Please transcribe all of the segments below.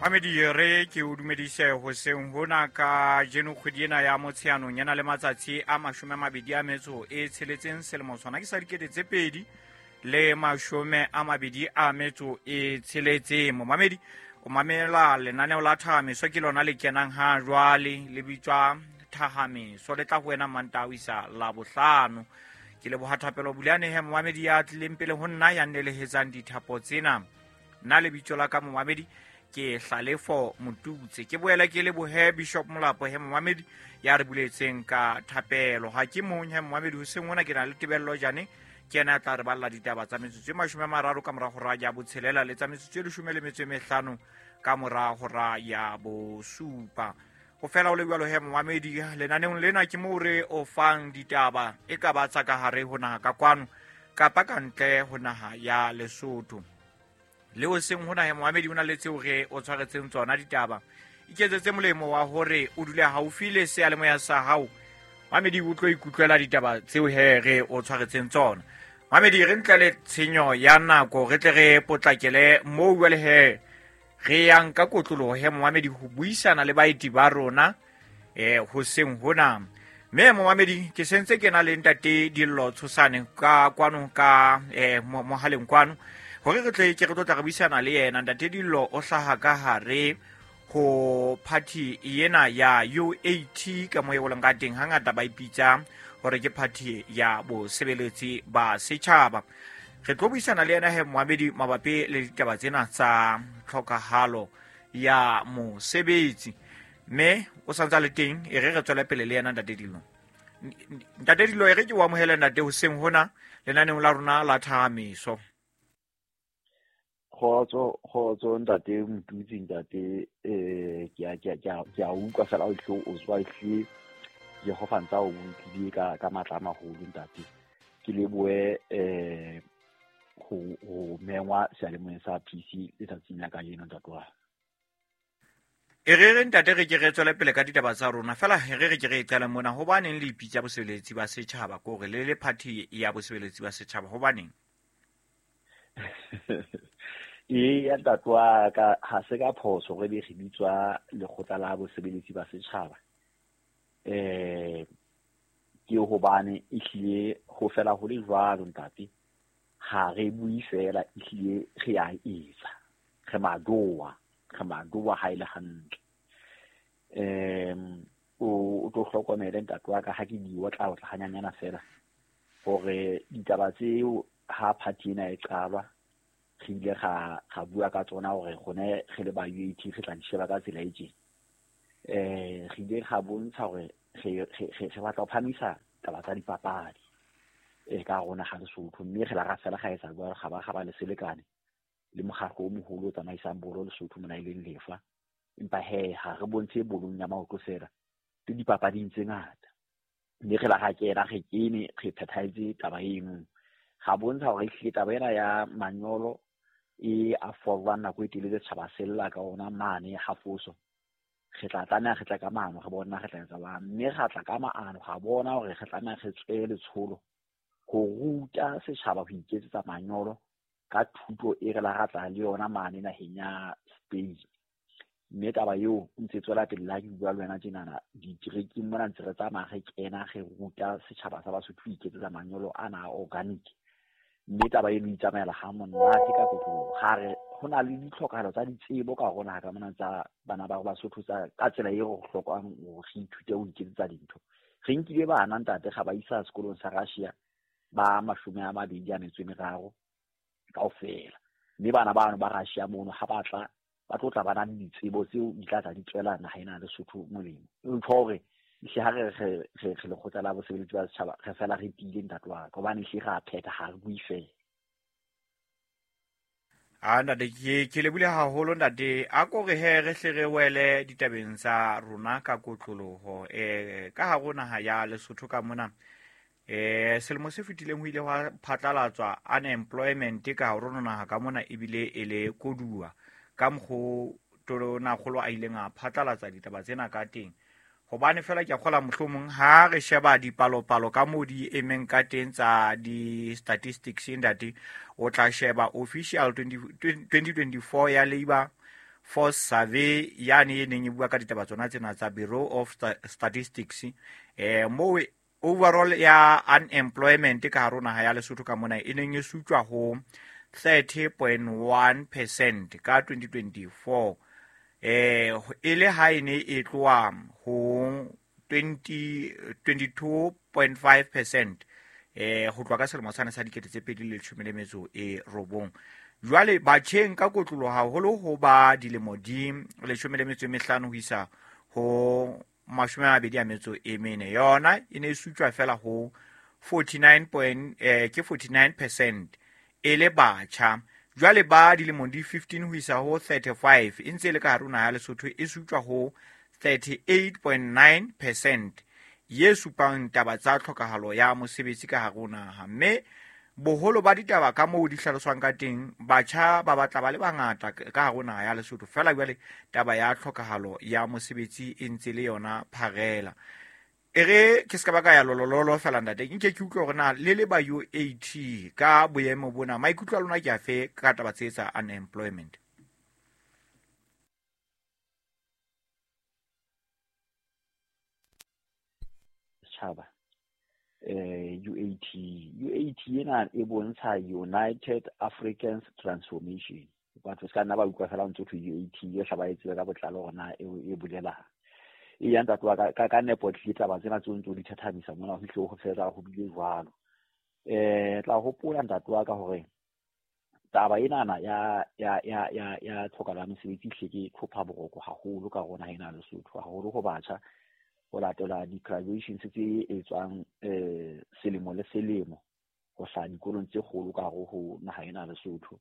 Mamedi, re ke o dumedise hoseng hona ka jeno. Kgwedi ena ya Motsheanong ena le matsatsi a 26, selemo sona ke sa 2026. Momamedi, o mamela lenaneo la Thahamiso, ke lona le kenang ha jwale, le bitswa Thahamiso, le tla ho wena Mantaha ho isa la Bohlano. Ke leboha Thapelo Buleanehe, momamedi ya tlileng pele ho nna, ya nnelehetsang dithapo tsena. Nna lebitso la ka, momamedi, ke Hlalefo Motutse. Ke boela ke lebohe Bishop Molapo he, momamedi, ya re buletseng ka thapelo. Ha ke mong he, momamedi, hoseng ona ke na le Tebello Jane, ke ena a tla re balla ditaba tsa metsotso e 30 ka mora hora ya botshelela le tsa metsotso e 15 ka mora hora ya bosupa. Ho fela o le jwalo he, momamedi, lenaneong lena ke moo re o fang ditaba, e ka ba tsa ka hare ho naha ka kwano kapa ka ntle ho naha ya Lesotho. Le o seng hona he, momamedi, o na le tseo re o tshwaretseng tsona ditaba. Iketsetse molemo wa hore o dule haufi le seyalemoya sa hao, mamedi, o tlo ikutlwela ditaba tseo he re o tshwaretseng tsona. Mamedi, re ntle le tshenyo ya nako, re tle re potlakele moo jwale he re yang ka kotloloho he, momamedi, ho buisana le baeti ba rona hoseng hona. Mme momamedi, ke sentse ke na le ntate Dillo Tshosane ka kwano ka mohaleng kwano, hore re tle ke re tlo tla re buisana le yena. Ntate Dillo o hlaha ka hare ho party ena ya UAT, ka mo e boleng ka teng hangata ba ipitsa hore ke party ya bosebeletsi ba setjhaba. Re tlo buisana le yena he, moamedi, mabapi le ditaba tsena tsa tlhokahalo ya mosebetsi, mme o santse a le teng. E re re tswele pele le yena ntate Dillo. Ntate Dillo, e re ke o amohele, ntate, hoseng hona lenaneong la rona la Thahamiso. Kgotso, kgotso, ntate Motutsi. Ntate, ke a utlwa fela o hle o tswa hle. Jehova ntsa o bolokile ka matla a maholo, ntate. Ke lebohe ho mengwa seyalemoyeng sa PC letsatsing la kajeno, ntate wa. E re re, ntate, re ke re tswele pele ka ditaba tsa rona fela. E re re ke re e qale mona. Hobaneng le ipitsa bosebeletsi ba setjhaba, ke hore le le party ya bosebeletsi ba setjhaba? Hobaneng? Ee ya, ntate wa ka, ha se ka phoso re be re bitswa Lekgotla la Bosebeletsi ba Setjhaba. Ke hobane ehlile ho fela ho le jwalo, ntate. Ha re bue fela, ehlile re a etsa. Re madoa, re madoa ha e le hantle. O tlo hlokomele, ntate wa ka, ha ke di otla otla hanyanyana fela, hore ditaba tseo ha party ena e qalwa re ile ga bua ka tsona, hore rone re le ba UAT re tla di sheba ka tsela e tjena. Re ile ga bontsha hore re batla ho phamisa taba tsa dipapadi ka rona ga Lesotho, mme re la ra fela ga etsa jwalo, ga ba ga ba le selekane le mokgatlo o moholo o tsamaisang bolo Lesotho mona, e leng Lefa. Empa he, ha re bontshe bolong ya maoto fela, le dipapading tse ngata. Mme re la ga kena, re kene re phethahetse taba eno, ga bontsha hore ehlile taba ena ya manyolo e a forwang nako e telele setjhaba se lla ka ona mane hafoso, re tla tlameha re tle ka maano, re bona re tla etsa jwang. Mme ra tla ka maano, ga bona hore re tlameha re tswe letsholo ho ruta setjhaba ho iketsetsa manyolo ka thuto e re la ra tla le yona mane naheng ya Spain. Mme taba eo ntse tswela pele. La ke bua le wena tjenana, diterekeng mona ntse re tsamaya, re kena, re ruta setjhaba sa Basotho ho iketsetsa manyolo ana a organic. Mme taba eno e itsamaela ha monate ka kotloloho. Ga re ho na le ditlhokahalo tsa ditsebo ka rona ka mona tsa bana ba Basotho tsa ka tsela e re hlokang hore re ithute ho iketsetsa dintho. Re nkile bana, ntate, ga ba isa sekolong sa Russia ba 23 kaofela. Mme bana bano ba Russia mono, ha ba tla, ba tlo tla ba na le ditsebo tseo di tla tla di tswela naha ena Lesotho molemo. Ntho hore hle ha re Lekgotla la Bosebeletsi ba Setjhaba, re fela re tiile, ntate wa ka, hobane hle ra phetha, ha re bue fela. A ntate, ke lebile haholo, ntate. A ko re he re hle re wele ditabeng tsa rona ka kotloloho. Ka hare ho naha ya Lesotho ka mona, selemo se fetileng ho ile hwa phatlalatswa unemployment ka hare ho naha ka mona, ebile e le koduwa ka mokgo tonakgolo a ileng a phatlalatsa ditaba tsena ka teng. Hobane fela ke a kgola mohlomong ha re sheba dipalopalo ka moo di emeng ka teng tsa di-statistics, ntate, o tla sheba official 2024 ya labour Force Survey yane e neng e bua ka ditaba tsona tsena tsa Bureau of Statistics, moo overall ya unemployment ka hare ho naha ya Lesotho ka mona e neng e sutjwa ho 30.1% ka 2024, e le ha e ne e tloha ho 22.5% ho tloha ka selemo sane sa 2019. Jwale batjheng ka kotloloho haholo ho ba dilemo di 15 ho isa ho 24, yona e ne e sutjwa fela ho 49% e le batjha. Jwale ba dilemo di 15 ho isa ho 35 e ntse e le ka hare ho naha ya Lesotho e sutjwa ho 38.9%, ye supang taba tsa tlhokahalo ya mosebetsi ka hare ho naha. Mme boholo ba ditaba ka moo di hlaloswang ka teng, batjha ba batla ba le bangata ka hare ho naha ya Lesotho. Fela jwale taba ya tlhokahalo ya mosebetsi e ntse le yona pharela. E re ke ska ba ka ya lolololo fela ntate, nke ke utlwe hore na le le ba UAT ka boemo bona maikutlo a lona ke afe ka taba tse tsa unemployment? Setjhaba UAT ena e bontsha United Africans Transformation. Batho ska nna ba utlwa fela ntse thwe UAT e hlaba e tsebe ka botlalo hore na e bolelang. E ya ntate wa ka nepo tlile taba tsena tse ntse di thathamisa mona ho hle ho fela ho bile jwalo. Tla hopola ntate wa ka hore taba ena ya ya ya ya ya tlhokahalo ya mosebetsi hle ke tlhopha boroko haholo ka rona ena Lesotho, haholo ho batjha, ho latela di-graduations tse etswang selemo le selemo ho hlaha dikolong tse kgolo ka hare ho naha ena Lesotho.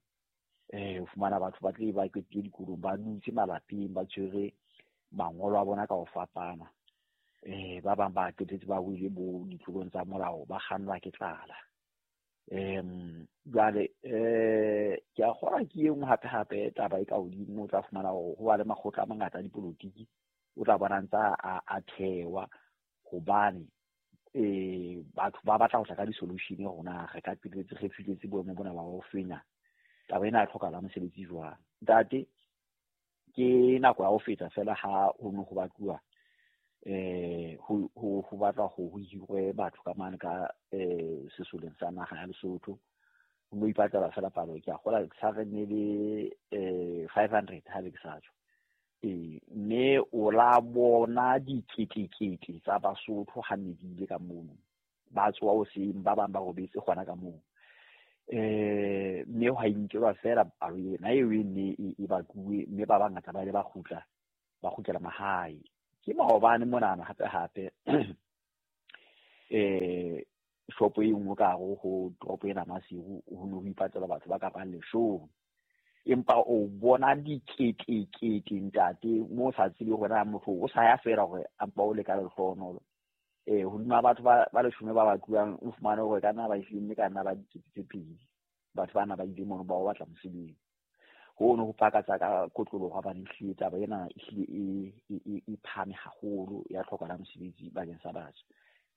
O fumana batho ba tle ba qetile dikolong, ba dutse malapeng, ba tshwere mangolo a bona ka ho fapana. Ba bang ba qetetse ba wele bo ditlolong tsa molao, ba kgannwa ke tlala. Jwale ke a kgolwa ke e nngwe hape hape taba e ka hodimo, o tla fumana hore ho ba le makgotla a mangata a dipolotiki, o tla bona ntse a thewa hobane batho ba batla ho tla ka di-solution hore na re ka qetelletse re fihletse boemo bona ba ho fenya taba ena ya tlhokahalo ya mosebetsi jwang. Ntate, ke nako ya ho feta fela ha ho ne ho batluwa ho batla ho hirwe batho ka mane ka sesoleng sa naha ya Lesotho. Ho no ipatlela fela palo, ke a kgolwa sa re ne le 500 ha be ke sa tjho. Mme o la bona diketekete tsa Basotho ha ne di ile ka mono, ba tsoha hoseng, ba bang ba robetse hona ka moo. Mme hwa inkelwa fela palo ena eo e ne e batluwe, mme ba bangata ba ile ba kgutla, ba kgutlela mahae. Ke maobane monana hape hape shopo e nngwe ka hare ho toropo ena Maseru, ho ne ho ipatlela batho ba ka bang leshome. Empa o bona diketekete ntate, mo sa tsebe hore na motho o sa ya fela hore a mpa o le ka lehlohonolo. Hodima batho ba leshome ba batluwang, o fumane hore ka nna ba ehlile mme ka nna ba dikete tse pedi batho bana ba ile mono ba o batla mosebetsi. Hono ho pakatsa ka kotloloho hobane ehlile taba ena ehlile e phahame haholo ya tlhokahalo ya mosebetsi bakeng sa batjha.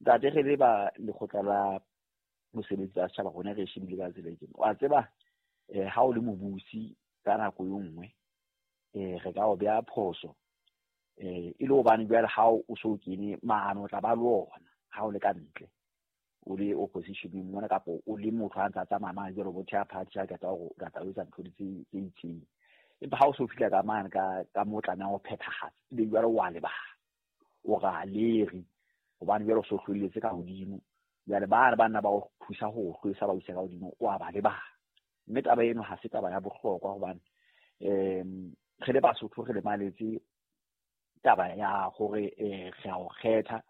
Ntate, re le ba lekgotla la mosebetsi wa setjhaba rona re shebile ka tsela e tjena. Wa tseba ha o le mobusi ka nako e nngwe re ka o beha phoso e le hobane jwale ha o so kene maano o tla ba le ona ha o le ka ntle, o le opposition mona kapa o le motho a ntsa tsamaya mane jwalo bo theha party a qeta hore o tla etsa ntho tse itseng. Empa ha o so fihla ka mane ka mo tlamehang ho phethahatsa, ebe jwale wa lebala, o ra leri hobane jwale o so hlwelletse ka hodimo. Jwale ba re banna ba o thusa ho hlwesa ba isa ka hodimo, o a ba lebala. Mme taba eno ha se taba ya bohlokwa hobane re le Basotho re lemaletse taba ya hore re a o kgetha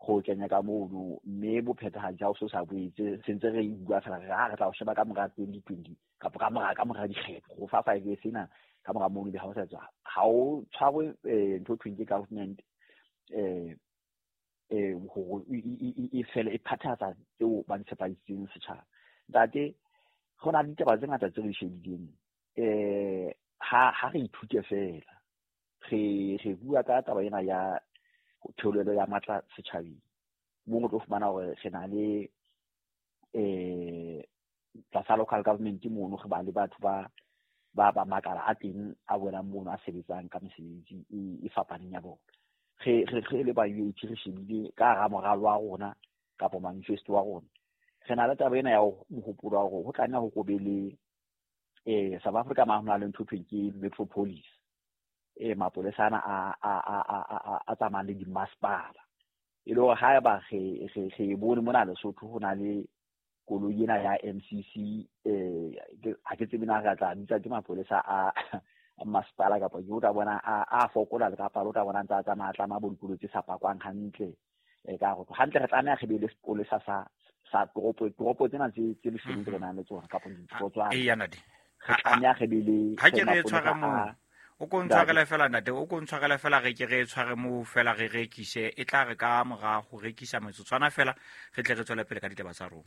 go kenya ka mono, mme bophethahatsi ha o so sa boetse sentse re bua fela re ha re tla o sheba ka mora 2020 kapa ka mora dikgetho go fa 5 years ena ka mora mono be ha o sa tswa ha o tshwarwe ntho thweng ke government hore e fele e phathatsa tseo ba tshepisitseng setjhaba. Ntate, ho na le ditaba tse ngata tse re shebileng ha re ithute fela, re bua ka taba ena ya theolelo ya matla setjhabeng. Mo o tlo fumana hore re na le tlasa local government mono re ba le batho ba ba ba makala a teng a bonang mono a sebetsang ka mesebetsi e fapaneng ya bona. Re le ba UAT re shebile ka hara moralo wa rona kapa manifesto wa rona, re na le taba ena ya mohopolo wa hore ho tlameha ho be le South Africa ma hona le ntho thweng ke metropolis, mapolesa ana a tsamayang le dimasepala, e le hore haeba re bone mona Lesotho ho na le koloi ena ya MCC, ha ke tsebe na re tla bitsa ke mapolesa a masepala kapa ke o tla bona a fokola le kapa o tla bona ntse a tsamaya tlama bo dikoloi tse sa pakwang hantle. Ka hore hantle re tlameha re be le sepolesa sa toropo tsena tse leshome tse re nang le tsona kapa ditorotswana. Eya ntate, re tlameha re be le ha ke re tshware moo, o ko ntshwarele fela ntate, o ko ntshwarele fela, re ke re tshware moo fela re rekise, e tla re ka mora ho rekisa metsotswana fela re tle re tswele pele ka ditaba tsa rona.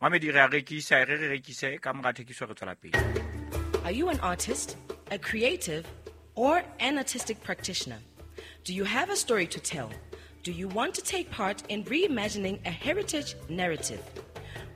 Mamedi, re a rekisa, re rekise ka mora thekiso re tswela pele. Are you an artist, a creative, or an artistic practitioner? Do you have a story to tell? Do you want to take part in reimagining a heritage narrative?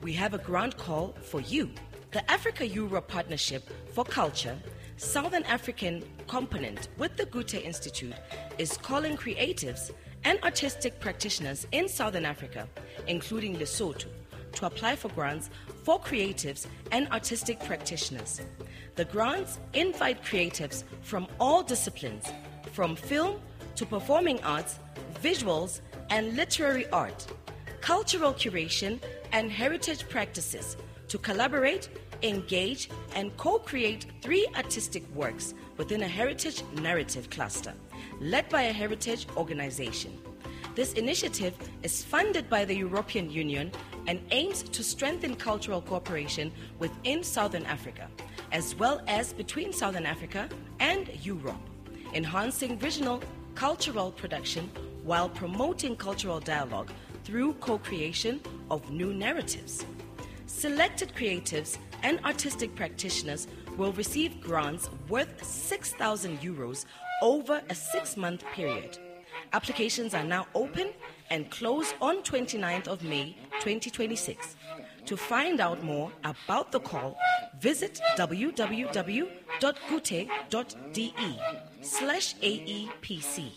We have a grant call for you. The Africa-Europe Partnership for Culture, Southern African component with the Goethe Institute, is calling creatives and artistic practitioners in Southern Africa, including Lesotho, to apply for grants for creatives and artistic practitioners. The grants invite creatives from all disciplines, from film to performing arts, visuals and literary art, cultural curation and heritage practices, to collaborate, engage, and co-create 3 artistic works within a heritage narrative cluster, led by a heritage organization. This initiative is funded by the European Union and aims to strengthen cultural cooperation within Southern Africa, as well as between Southern Africa and Europe, enhancing regional cultural production while promoting cultural dialogue through co-creation of new narratives. Selected creatives and artistic practitioners will receive grants worth 6,000 euros over a 6-month period. Applications are now open and close on 29th of May 2026. To find out more about the call, visit www.goethe.de/AEPC.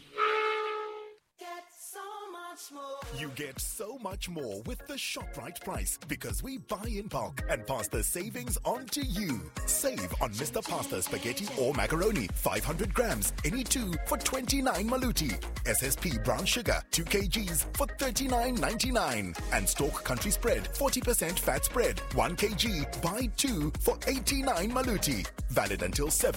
You get so much more with the ShopRite price because we buy in bulk and pass the savings on to you. Save on Mr. Pasta spaghetti or macaroni, 500 grams, any two for 29 maluti. SSP brown sugar, 2 kgs for 39.99. And Stork Country Spread, 40% fat spread, 1 kg, buy 2 for 89 maluti. Valid until 7.